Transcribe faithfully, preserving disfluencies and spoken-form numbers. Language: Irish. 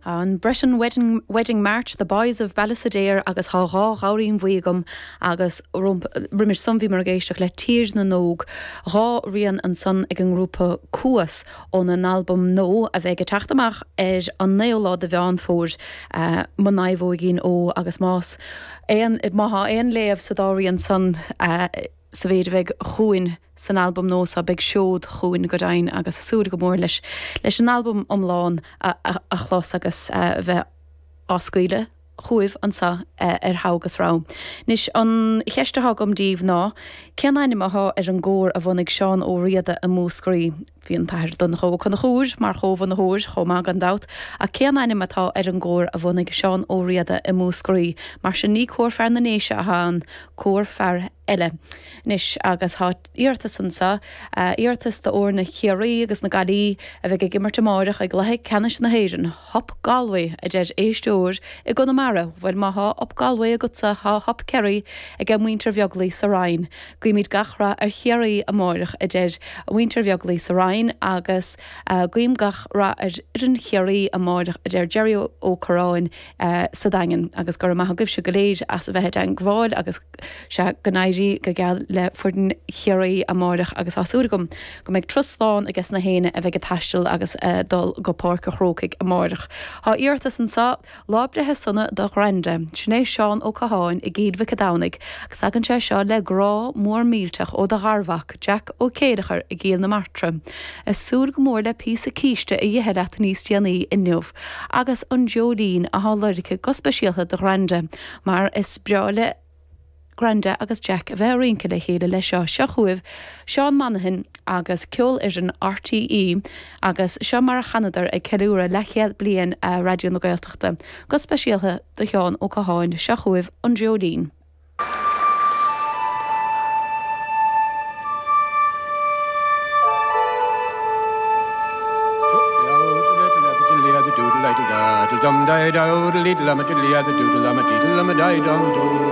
An Breton Wedding, Wedding March, The Boys of Ballysadare agus tá dhá ghabhairín bhuí agam agus roimis san bhíomar ag éisteacht le Tír na nÓg dhá rian ansan ag an ngrúpa Cuas óna n-albam nua a bheidh ag teacht amach ar an naoú lá de Mheán Fómhair uh, Mo Naomhóigín Ó agus más aon má tá aon léamh sa dá rian san uh, sa mhéid a bheidh chugainn san albam nua so beidh seod chugainn go deimhin agus súil go mór leis leis an albam iomlán a, a, a chlos agus uh, bheith á scaoileadh chugaibh anseo uh, ar Thogha agus Rogha. Anois an cheist atá agam daoibh ná, cén ainm atá ar an gcór a bhunaigh Seán Ó Riada i Múscraí. Bhí an tAthair Donncha Ó Conchúir mar chomhbhunaitheoir chomh maith gan dabht, ach cén ainm atá ar an gcór a bhunaigh Seán Ó Riada i Múscraí, mar sin ní cór fear na nDéise atá ann, cór fear eile. Anois agus tá iarratas anseo, uh, iarratas d'fhoirne Chiarraí agus na Gaillimhe a bheidh ag imirt amárach ag cluiche ceannais na hÉireann, Hup Galway a deir éisteoir i gConamara, bhuel má tá Up Galway agatsa tá Hup Kerry ag muintir Bheaglaoich sa Rinn. Guímid gach rath ar Chiarraí amárach a deir muintir Bheaglaoich sa Rinn agus uh, guím gach rath ar fhoireann Chiarraí amárach a deir Jerry Ó Corráin uh, sa Daingean agus go raibh maith agaibhse go léir as a bheith i dteagmháil agus sé go n-éirí go geal le foireann Chiarraí amárach agus tá súil agam go mbeidh turas slán aige na héinne a bheidh ag taisteal agus uh, dul go Páirc an Chrócaigh amárach. Tá iarratas anseo lá breithe sona do Ghranda, sin é Seán Ó Catháin i gCill Mhic Domhnaigh, agus tagann sé seo le grá mór millteach ó do gharmhac Jack Ó Céideachar i gCill na Martra. Ag súil go mór le píosa císte a ithe leat níos déanaí inniu, agus an Dreoilín atá lorgtha go speisialta do Ghranda, mar is breá le Granda agus Jack a bheith ag rince le chéile le seo seo chugaibh Seán Monaghan agus ceolfhoireann RTÉ agus seo mar a chanadar ag ceiliúradh leathchéad bliain a Raidió na Gaeltachta, go speisialta do Sheán Ó Catháin seo chugaibh an Dreoilín. Dum